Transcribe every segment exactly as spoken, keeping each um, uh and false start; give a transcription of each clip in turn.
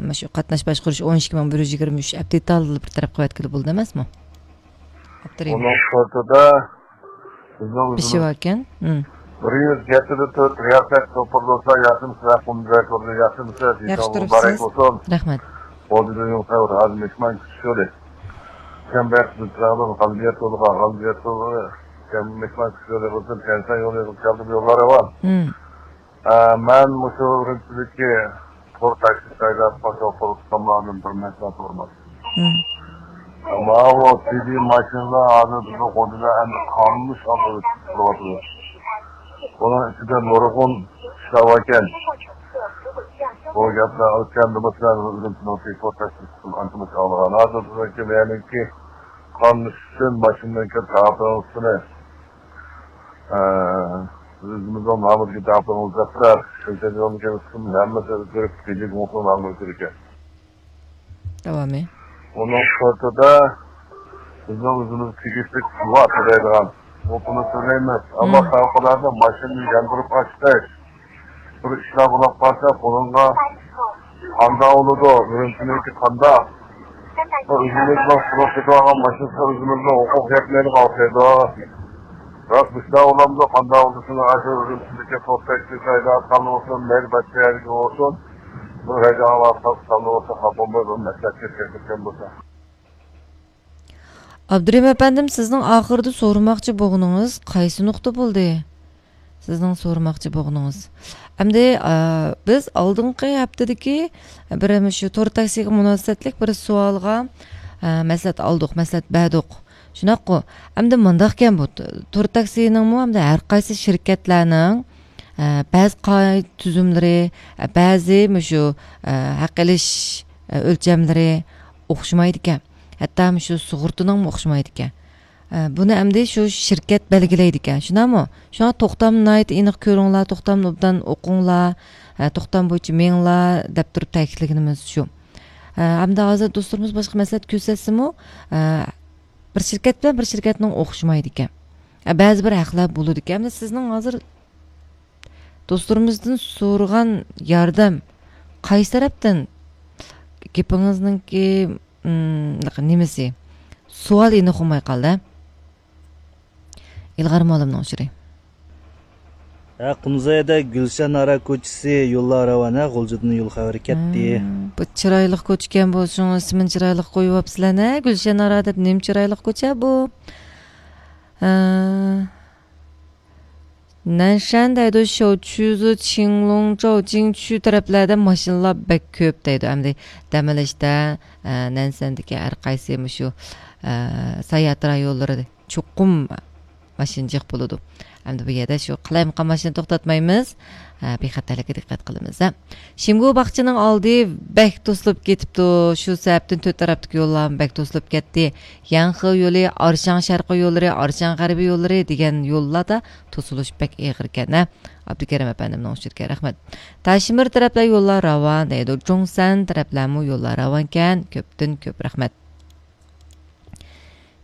مۇشۇ قاتناش باشقۇرۇش ئون ئىككى مىڭ بىر يۈز يىگىرمە ئۈچ ئەپ دېتالىنى بىر تەرەپ قىلىۋەتكىلى بولىدۇ ئەمەسمۇ؟ ئاپتور ئۇنىڭ شورتىدا بىزنىڭ ئۆزىمىز بېشى باركەن. بىر يۈز يەتتە تۆت رىياسەت توپۇر بولسا، ياخشىمۇ سىلەر قۇمدەك بولدى، ياخشىمۇ سىلەر، ياخشى دېيسىڭىز مۇبارەك تۇرۇپسىز. بولسۇن. رەھمەت. بولدى دېگەن خەۋەر ھازىر مېھمان كۈتۈش يولى. شەنبە كۈنى غەلىبىيەت يولىغا، غەلىبىيەت يولى، مېھمان كۈتۈش يولى بولسۇن، كەنسان يولى كەلدىم، يوللار راۋان. ئە، مەن مۇشۇ ئۈرۈمچىدىكى تور تاكسى سايلاپ، شوپۇر ئۇستاملاردىن بىر مەسلىھەت سورىماقچى. ماۋۇ سىدى ماشىنىلار ھازىر بىزنىڭ خوجىدا ئەمدى قانۇننى شالدۇرۇپ تۇرۇۋاتىدۇ. بۇنىڭ ئىچىدە نۇرغۇن ئىشلار باركەن. بۇ گەپلەر ئۆتكەندىمۇ سىلەر ئۈرۈمچىنىڭ تور تاكسىسى ئانچە مۇنچە ئاڭلىغان. ھازىر بىزنىڭكى مەيەرنىڭكى قانۇن ئۈچۈن ماشىنىنىڭكى تاپىڭىزنى ئۆزىمىزنىڭ نامىدىكى داپلىرىمىز دەپتەر، شۇنچە يولنى كەمسىتىپ ھەممىسى ئۆزگىرىپ، بېجى گۇڭسۇ نامى ئۆزگىرىكەن. داۋامى. ئۇنىڭ سىرتىدا بىزنىڭ ئۆزىمىز تېگىشلىك سۇغا تۆلەيدىغان، ئۇنى سۆزلەيمىز. ئەمما فەۋقۇلئاددە ماشىنىنى ياندۇرۇپ ئاچتەك بىر ئىشلار بولۇپ قالسا، بۇنىڭغا قانداق بولىدۇ؟ ئۈرۈمچىنىڭكى قانداق؟ بۇ ئۆزىمىزنىڭ سۇغا كېتىۋالغان ماشىنىسى ئۆزىمىزنىڭ ھوقۇق يەتمەيدىغان ئوخشايدۇ. راست مۇشۇنداق بولامدۇ؟ قانداق بولسۇن، ئاشۇ ئۈرۈمچىدىكى توختايتتى سايدا ئاتقان بولسۇن، مەيلى باشقا يەرگە بولسۇن، بۇ ھەيدەپ ئاۋارە تارتقان بولسا، خاپا بولماي بىر مەسلىھەتكە كىرىشكەن بولسا. ئابدۇرېھىم ئەپەندىم، سىزنىڭ ئاخىرىدا سورىماقچى بولغىنىڭىز قايسى نۇقتا بولدى؟ سىزنىڭ سورىماقچى بولغىنىڭىز. ئەمدى، ئا، بىز ئالدىنقى ھەپتىدىكى بىر مۇشۇ تور تاكسىغا مۇناسىۋەتلىك بىر سوئالغا، ئا، مەسلىھەت ئالدۇق، مەسلىھەت بەردۇق. شۇنداققۇ؟ ئەمدى مۇنداقكەن بۇ، تور تاكسىنىڭمۇ ئەمدى ھەر قايسى شىركەتلەرنىڭ، ئا، بەزى قائىدە تۈزۈملىرى، ئا، بەزى مۇشۇ، ئا، ھەق ئېلىش، ئا، ئۆلچەملىرى ئوخشىمايدىكەن. ھەتتا مۇشۇ سۇغۇرتىنىڭمۇ ئوخشىمايدىكەن. ئە، بۇنى ئەمدى شۇ شىركەت بەلگىلەيدىكەن، شۇنداقمۇ؟ شۇڭا توختامنى ناھايىتى ئېنىق كۆرۈڭلار، توختامنى ئوبدان ئوقۇڭلار، ئە، توختام بويىچە مېڭىڭلار دەپ تۇرۇپ تەكىتلىگىنىمىز شۇ. ئە، ئەمدى ھازىر دوستلىرىمىز باشقا مەسلىھەت كۆرسەتسىمۇ، ئە، بىر شىركەت بىلەن بىر شىركەتنىڭ ئوخشىمايدىكەن. ئە، بەزى بىر ھەقلەر بولىدىكەن. ئەمدى سىزنىڭ ھازىر دوستلىرىمىزدىن سورىغان ياردەم قايسى تەرەپتىن؟ گېپىڭىزنىڭكى، ئىم، نېمىسى؟ سوئال ئېنىق بولماي قالدى. ئىلغار مۇئەللىمنىڭ ئۇچۇرى. ھە، قۇمزايدا گۈلشەن ئارا كوچىسى يوللار راۋان، ھە، غۇلجىدىن يول خەۋىرى كەتتى. ھە، بۇ چىرايلىق كوچىكەن بۇ، شۇڭا ئىسمىنى چىرايلىق قويۇۋاپسىلەر، ھە، گۈلشەن ئارا دەپ. نېمە چىرايلىق كوچا بۇ؟ ھە. نەنشەن دەيدۇ، شوچۈزۇ، چىڭلۇڭ، چاۋجىڭ، چۈ تەرەپلەردە ماشىنىلار بەك كۆپ دەيدۇ. ئەمدى دەم ئېلىشتا، ئە، نەنشەندىكى ھەر قايسى مۇشۇ، ئە، ساياھەت رايونلىرى چوقۇم ماشىنا جىق بولىدۇ. ئەمدى بۇ يەردە شۇ قالايمىقان ماشىنا توختاتمايمىز. ئە، بىخەتەرلىككە دىققەت قىلىمىز، ھە. شىمگۇ باغچىنىڭ ئالدى بەك توسۇلۇپ كېتىپتۇ. شۇ سەۋەبتىن تۆت تەرەپتىكى يوللارمۇ بەك توسۇلۇپ كەتتى. ياڭخې يولى، ئارشاڭ شەرقىي يوللىرى، ئارشاڭ غەربىي يوللىرى دېگەن يوللاردا توسۇلۇش بەك ئېغىركەن، ھە. ئابدۇكېرىم ئەپەندىمنىڭ ئۇچۇرىكەن، رەھمەت. تاشىمىر تەرەپلەر يوللار راۋان دەيدۇ. جۇڭسەن تەرەپلەرمۇ يوللار راۋانكەن. كۆپتىن كۆپ رەھمەت.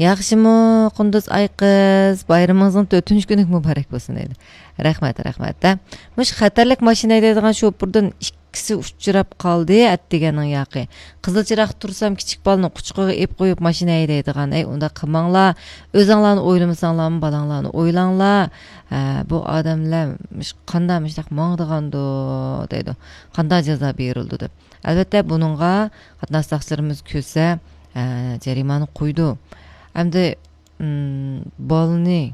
ياخشىمۇ، قۇندۇز ئايقىز، بايرىمىڭىزنىڭ تۆتىنچى كۈنى مۇبارەك بولسۇن دەيدۇ. رەھمەت، رەھمەت، ھە. مۇشۇ خەتەرلىك ماشىنا ھەيدەيدىغان شوپۇردىن ئىككىسى ئۇچراپ قالدى، ئەتىگەننىڭ ياقى. قىزىل چىراغ تۇرسام، كىچىك بالىنى قۇچىقىغا ئېلىپ قويۇپ ماشىنا ھەيدەيدىغان. ئەي، ئۇنداق قىلماڭلار. ئۆزۈڭلارنى ئويلىمىساڭلارمۇ، بالاڭلارنى ئويلاڭلار. ھە، بۇ ئادەملەر مۇش-، قانداق مۇشۇنداق ماڭىدىغاندۇ، دەيدۇ. قانداق جازا بېرىلىدۇ دەپ. ئەلۋەتتە، بۇنىڭغا قاتناش ساقچىلىرىمىز كۆرسە، ئە، جەرىمانە قويىدۇ. ئەمدى، ئىم، بالىنى،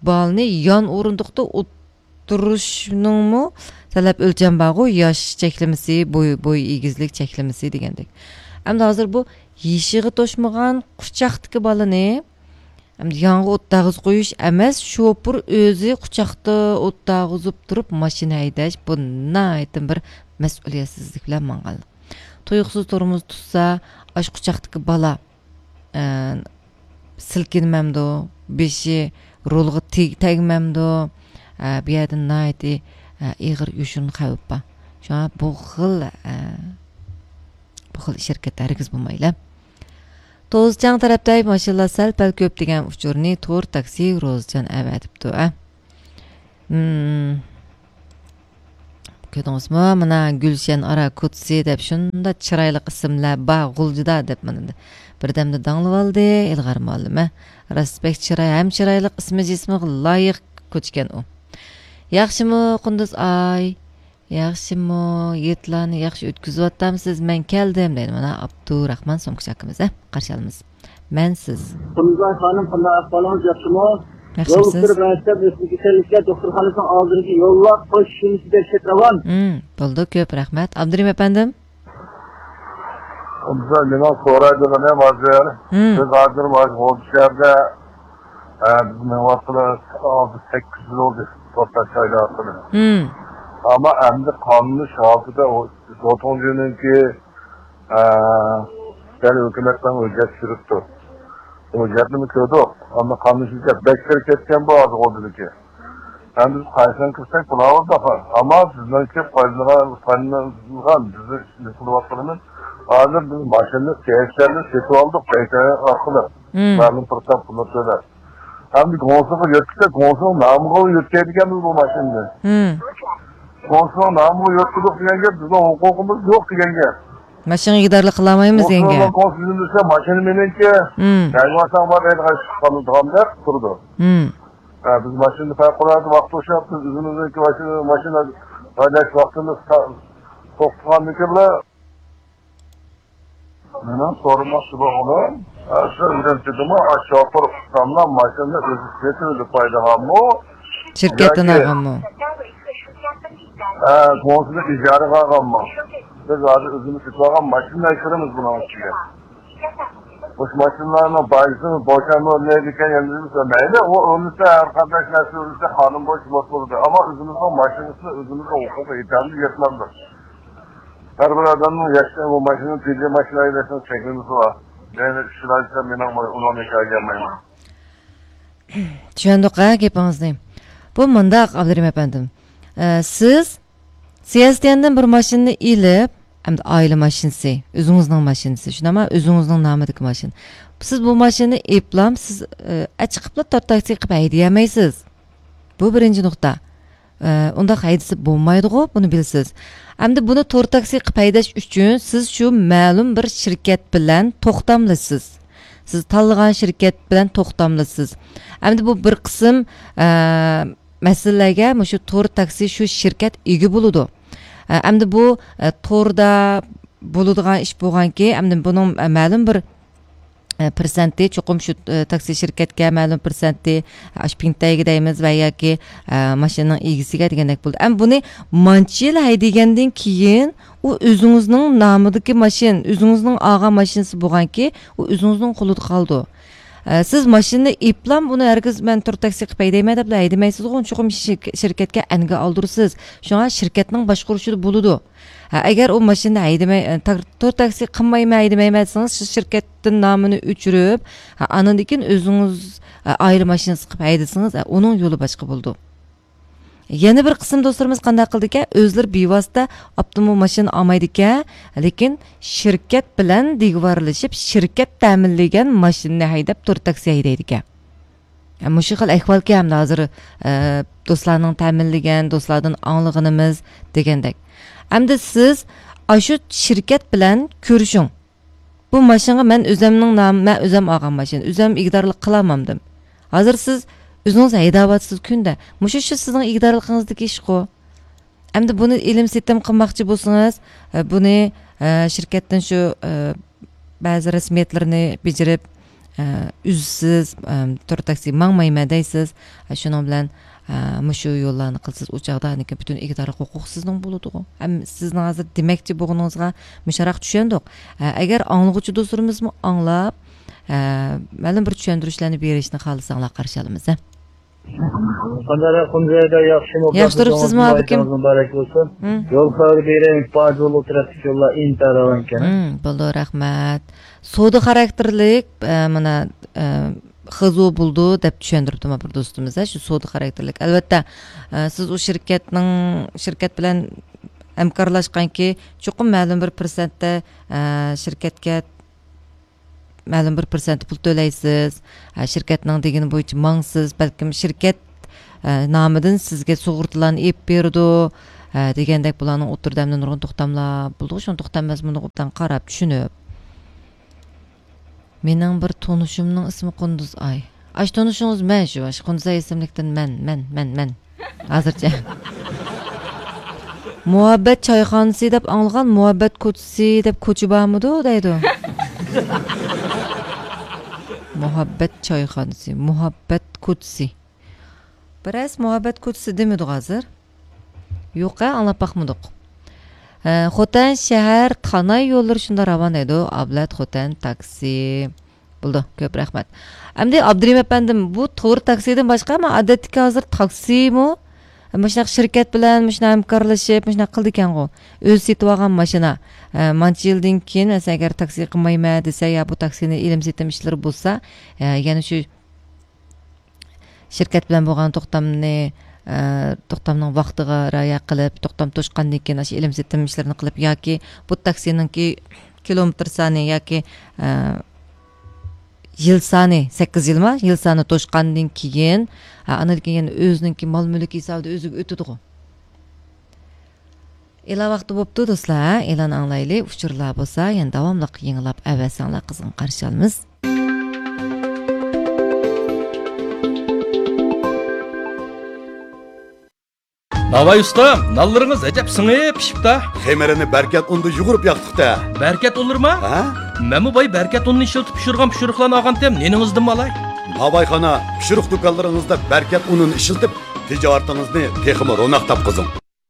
بالىنى يان ئورۇندۇقتا ئولتۇرۇشنىڭمۇ تەلەپ ئۆلچەم بارغۇ، ياش چەكلىمىسى، بوي، بوي ئېگىزلىك چەكلىمىسى دېگەندەك. ئەمدى ھازىر بۇ يېشىغا توشمىغان قۇچاقتىكى بالىنى ئەمدى يانغا ئوت دەرغىزىپ قويۇش ئەمەس، شوپۇر ئۆزى قۇچاقتا ئوت دەرغىزىپ تۇرۇپ ماشىنا ھەيدەش، بۇ ناھايىتى بىر مەسئۇلىيەتسىزلىك بىلەن ماڭغانلىق. تۇيۇقسىز تورمۇز تۇتسا، ئاشۇ قۇچاقتىكى بالا، ئە، سىلكىنمەمدۇ، بېشى رولغا تېگ-، تەگمەمدۇ، ئە، بۇ يەردە ناھايىتى، ئە، ئېغىر يوشۇرۇن خەۋپ بار. شۇڭا بۇ خىل، ئە، بۇ خىل ئىش ھەرىكەت ھەرگىز بولمايلى. توزچاڭ تەرەپتە ماشىنىلار سەل-پەل كۆپ دېگەن ئۇچۇرنى تور تاكسى روزىجان ئەۋەتىپتۇ، ئە. مم. كۆردىڭىزمۇ؟ مانا گۈلشەن ئارا كوچىسى دەپ شۇنداق چىرايلىق ئىسىملار بار غۇلجىدا دەپ، مانا بىردەمدە داڭلىۋالدى ئىلغار مۇئەللىم، ھە؟ راست بەك چىراي، ھەم چىرايلىق، ئىسمى جىسمىغا لايىق كوچىكەن ئۇ. ياخشىمۇ قۇندۇز ئاي؟ ياخشىمۇ؟ ھېيتلارنى ياخشى ئۆتكۈزۈۋاتامسىز؟ مەن كەلدىم دەيدۇ مانا ئابدۇراخمان سومكىچى ئاكىمىز، ھە؟ قارشى ئالىمىز. مەن سىز. قۇندۇزاي خانىم، قانداق ئەھۋالىڭىز؟ ياخشىمۇ؟ ياخشىمۇ يول سىز؟ ئۇتتۇرى مەكتەپ ئۆسمە كېسەللىكلەر دوختۇرخانىسىنىڭ ئالدىدىكى يوللار قوش شۇنىسى دەھشەت راۋان. مم، بولدى، كۆپ رەھمەت. ئابدۇرېھىم ئەپەندىم. قۇندۇزاي، مېنىڭ سورايدىغىنىم ھازىر، مم، بىز ھازىر مانا غۇلجا شەھەردە، ئە، بىز مېڭىۋاتقىلى ئالتە سەككىز يىل بولدى، توختاش قايدا ئارقىلىق. مم. ئەمما ئەمدى قاملىش ھالىتىدە ئۇ زوتۇڭجۈنىڭكى، ئە، دەل ھۆكۈمەتنىڭ ھۆججەت سۈرۈپتۇ. ھۆججەتنىمۇ كۆردۇق. ئەمما قاملىشىش بەش كىرىپ كەتكەن بۇ ھازىر غۇلجىدىكى. ئەمدى بىز قايسىنى كىرسەك بولىۋاتىدۇ. ئەمما بىزنىڭكى پايدىلىنىدىغان، پايدىلىنىدىغان، بىزنىڭ ئىشىمىز قىلىۋاتقىنىمىز، ھازىر بىز ماشىنىنى، تېرىكلەرنى سېتىۋالدۇق، بەيتەر ئارقىلىق. مم. مەلۇم بىر تاپ پۇلنى تۆلەپ. ئەمدى گۇڭسىغا يۆتكىسەك، گۇڭسىنىڭ نامىغا يۆتكەيدىكەنمىز بۇ ماشىنىنى. مم. گۇڭسىنىڭ نامىغا يۆتكىدۇق دېگەن گەپ، بىزنىڭ ھوقۇقىمىز يوق دېگەن گەپ. ماشىنىغا ئىگىدارلىق قىلالمايمىز دېگەن گۇڭسىنىڭ گەپ. گۇڭسىنىڭ ماشىنا مېنىڭكى، مم، دەيۋاتاڭ بار دەيدىغان ئىشقا قالىدىغاندەك تۇرىدۇ. مم. ھە، بىز ماشىنىنى پەۋقۇلئاددە ۋاقىت توشۇپ، بىز ئۆزىمىزنىڭكى ماشىنا، ماشىنا ھەيدەش ۋاقتىمىز تا-، توختىغاندىكىن بىلەن. مېنىڭ سورىماقچى بولغىنىم، ھە، سىز ئۈرۈمچىدىمۇ، ئاشۇ شوپۇر ئۇستاملار ماشىنىنى ئۆزى سېتىۋېلىپ قويىدىغانمۇ؟ شىركەتتىن ياكى ئالغانمۇ؟ ھە، گۇڭسىنى ئىجارىگە ئالغانمۇ؟ بىز ھازىر ئۆزىمىز سېتىۋالغان ماشىنىنى ئەكىرىمىز بۇنىڭ ئىچىگە. مۇشۇ ماشىنىلارنىڭ بايىسىنى بوشانما ئۆرنەيدىكەن، يەنە بىلمىسە مەيلى، ئۇ ئۆرنىسە، ھەر قانداق نەرسە ئۆرنىسە قانۇن بويىچە بولسا بولىدۇ. ئەمما ئۆزىمىزنىڭ ماشىنىسىنى ئۆزىمىزنىڭ ھوقۇقى يېتەرلىك يەتمەمدۇ. ھەر بىر ئادەمنىڭ ياشىشى، بۇ ماشىنا، تېجى ماشىنا ھەيدەشنىڭ چەكلىمىسى بار. مەيلى ئىش بىلەن ئىشلەپ، مېنىڭ ئۇنىڭ ھېكايىگە كەلمەيمەن. چۈشەندۇق ھە گېپىڭىزنى. بۇ مۇنداق، ئابدۇرېھىم ئەپەندىم. ئە، سىز سىيەستيەندىن بىر ماشىنىنى ئېلىپ، ئەمدى ئائىلە ماشىنىسى، ئۆزىڭىزنىڭ ماشىنىسى، شۇنداقمۇ؟ ئۆزىڭىزنىڭ نامىدىكى ماشىنا. سىز بۇ ماشىنىنى ئېلىپلا، سىز، ئە، ئەچىقىپلا تور تاكسى قىلىپ ھەيدىيەلمەيسىز. بۇ بىرىنچى نۇقتا. ئە، ئۇنداق ھەيدىسە بولمايدىغۇ، بۇنى بىلىسىز. ئەمدى بۇنى تور تاكسى قىلىپ ھەيدەش ئۈچۈن سىز شۇ مەلۇم بىر شىركەت بىلەن توختاملىشىسىز. سىز تاللىغان شىركەت بىلەن توختاملىشىسىز. ئەمدى بۇ بىر قىسىم، ئە، مەسىلىلەرگە مۇشۇ تور تاكسى شۇ شىركەت ئىگە بولىدۇ. ئە، ئەمدى بۇ، ئە، توردا بولىدىغان ئىش بولغانكى، ئەمدى بۇنىڭ، ئە، مەلۇم بىر، ئە، پىرسەنتى چوقۇم شۇ، ئە، تاكسى شىركەتكە، مەلۇم پىرسەنتى، ئە، شۇ پىڭتەيگە دەيمىز ۋە ياكى، ئە، ماشىنىنىڭ ئىگىسىگە دېگەندەك بولىدۇ. ئەمدى بۇنى مانچە يىل ھەيدىگەندىن كېيىن، ئۇ ئۆزىڭىزنىڭ نامىدىكى ماشىنا، ئۆزىڭىزنىڭ ئالغان ماشىنىسى بولغانكى، ئۇ ئۆزىڭىزنىڭ قولىدا قالىدۇ. ئە، سىز ماشىنىنى ئېلىپلا، بۇنى ھەرگىز مەن تور تاكسى قىلىپ ھەيدەيمەن دەپلا ھەيدىمەيسىزغۇ، چوقۇم شىرك-، شىركەتكە ئەنگە ئالدۇرىسىز. شۇڭا شىركەتنىڭ باشقۇرۇشىدا بولىدۇ. ھە، ئەگەر ئۇ ماشىنىنى ھەيدىمەي، ئە، تار-، تور تاكسى قىلمايمەن، ھەيدىمەيمەن دېسىڭىز، شۇ شىركەتتىن نامىنى ئۆچۈرۈپ، ھە، ئاندىن كېيىن ئۆزىڭىز، ئە، ئائىلە ماشىنىسى قىلىپ ھەيدىسىڭىز، ئە، ئۇنىڭ يولى باشقا بولىدۇ. يەنە بىر قىسىم دوستلىرىمىز قانداق قىلىدىكەن؟ ئۆزلىرى بىۋاسىتە ئاپتوموبىل ماشىنا ئالمايدىكەن، لېكىن شىركەت بىلەن دىگۋارلىشىپ، شىركەت تەمىنلىگەن ماشىنىنى ھەيدەپ، تور تاكسى ھەيدەيدىكەن. مۇشۇ خىل ئەھۋالكەن ئەمدى ھازىر، ئە، دوستلارنىڭ تەمىنلىگەن، دوستلاردىن ئاڭلىغىنىمىز دېگەندەك. ئەمدى سىز ئاشۇ شىركەت بىلەن كۆرۈشۈڭ. بۇ ماشىنىغا مەن ئۆزەمنىڭ نامى، مەن ئۆزەم ئالغان ماشىنا، ئۆزەم ئىگىدارلىق قىلالمامدىم. ھازىر سىز ئۆزىڭىز ھەيدەۋاتىسىز كۈندە. مۇشۇ شۇ سىزنىڭ ئىگىدارلىقىڭىزدىكى ئىشقۇ. ئەمدى بۇنى ئېلىم سېتىم قىلماقچى بولسىڭىز، ئە، بۇنى، ئە، شىركەتتىن شۇ، ئە، بەزى رەسمىيەتلىرىنى بېجىرىپ، ئە، ئۈزسىز، ئە، تور تاكسى ماڭمايمەن دەيسىز. ئە، شۇنىڭ بىلەن، ئە، مۇشۇ يوللارنى قىلسىز، ئۇ چاغدا ئانىكى پۈتۈن ئىگىدارلىق ھوقۇق سىزنىڭ بولىدىغۇ. ھەم سىزنىڭ ھازىر دېمەكچى بولغىنىڭىزغا مۇشۇراق چۈشەندۇق. ئە، ئەگەر ئاڭلىغۇچى دوستلىرىمىزمۇ ئاڭلاپ، ئە، مەلۇم بىر چۈشەندۈرۈشلەرنى بېرىشنى خالىساڭلار قارشى ئالىمىز، ھە. قانداق قۇمزەيدە ياخشىمۇ؟ ياخشى تۇرۇپسىزمۇ، ئابىكىم؟ مۇبارەك بولسۇن. مم. يول خەۋىرى بېرەي، پاجولۇ تەرەپتىكى يوللار ئىنتايىن راۋانكەن. مم، بولدى، رەھمەت. سودا خاراكتېرلىك، ئە، مانا، ئە، خىزۇ بولىدۇ دەپ چۈشەندۈرۈپتۇ مانا بىر دوستىمىز، ھە، شۇ سودا خاراكتېرلىك. ئەلۋەتتە، ئە، سىز ئۇ شىركەتنىڭ، شىركەت بىلەن ھەمكارلاشقانكى، چوقۇم مەلۇم بىر پىرسەنتتە، ئە، شىركەتكە مەلۇم بىر پىرسەنت پۇل تۆلەيسىز، ھە، شىركەتنىڭ دېگىنى بويىچە ماڭىسىز، بەلكىم شىركەت، ھە، نامىدىن سىزگە سۇغۇرتىلارنى ئېلىپ بېرىدۇ، ھە، دېگەندەك بۇلارنىڭ ئوتتۇرىدا ئەمدى نۇرغۇن توختاملار بولىدىغۇ، شۇنى توختام مەزمۇنىغا ئوبدان قاراپ، چۈشىنىپ. مېنىڭ بىر تونۇشۇمنىڭ ئىسمى قۇندۇز ئاي. ئاشۇ تونۇشىڭىز مەن شۇ، ئاشۇ قۇندۇز ئاي ئىسىملىكتىن مەن، مەن، مەن، مەن. ھازىرچە. مۇھەببەت چايخانىسى دەپ ئاڭلىغان، مۇھەببەت كوچىسى دەپ كوچا بارمىدۇ دەيدۇ. مۇھەببەت چايخانىسى، مۇھەببەت كوچىسى. بىرەس مۇھەببەت كوچىسى دېمىدۇق ھازىر. يوق، ئاڭلاپ باقمىدۇق. ھە، خوتەن شەھەر تاناي يوللىرى شۇنداق راۋان دەيدۇ. ئابلەت خوتەن تاكسى. بولدى، كۆپ رەھمەت. ئەمدى ئابدۇرېھىم ئەپەندىم، بۇ تور تاكسىدىن باشقا، مەن ئادەتتىكى ھازىر تاكسىمۇ مۇشۇنداق شىركەت بىلەن مۇشۇنداق ھەمكارلىشىپ، مۇشۇنداق قىلىدىكەنغۇ. ئۆزى سېتىۋالغان ماشىنا. ئە، مانچە يىلدىن كېيىن، مەسىلەن، ئەگەر تاكسى قىلمايمەن دېسە، يا بۇ تاكسىنى ئېلىم سېتىم ئىشلىرى بولسا، ئە، يەنە شۇ شىركەت بىلەن بولغان توختامنى، ئە، توختامنىڭ ۋاقتىغا رىئايە قىلىپ، توختام توشقاندىن كېيىن ئاشۇ ئېلىم سېتىم ئىشلىرىنى قىلىپ ياكى بۇ تاكسىنىڭكى كىلومېتىر سانى ياكى، ئە، يىل سانى، سەككىز يىلما، يىل سانى توشقاندىن كېيىن، ھە، ئاندىن كېيىن يەنە ئۆزىنىڭكى مال مۈلكى ھېسابىدا ئۆزىگە ئۆتىدىغۇ. ئېلان ۋاقتى بوپتۇ، دوستلار، ھە؟ ئېلان ئاڭلايلى. ئۇچۇرلار بولسا يەنە داۋاملىق يېڭىلاپ ئەۋەتسەڭلار قىزغىن قارشى ئالىمىز. ناۋاي ئۇستا، نانلىرىڭىز ئەجەب سىڭىپ پىشىپتا. خېمىرىنى بەركەت ئۇندا يۇغۇرۇپ ياقتۇقتا. بەركەت ئۇنلىرىما؟ ھە؟ مەنمۇ باي بەركەت ئۇنىنى ئىشلىتىپ پىشۇرغان پىشۇرۇقلارنى ئالغانتىم، نېنىڭىزدىنمۇ ئالاي؟ ناۋايخانا پىشۇرۇق دۇكانلىرىڭىزدا بەركەت ئۇنىنى ئىشلىتىپ، تىجارىتىڭىزنى تېخىمۇ روناق تاپقۇزۇڭ.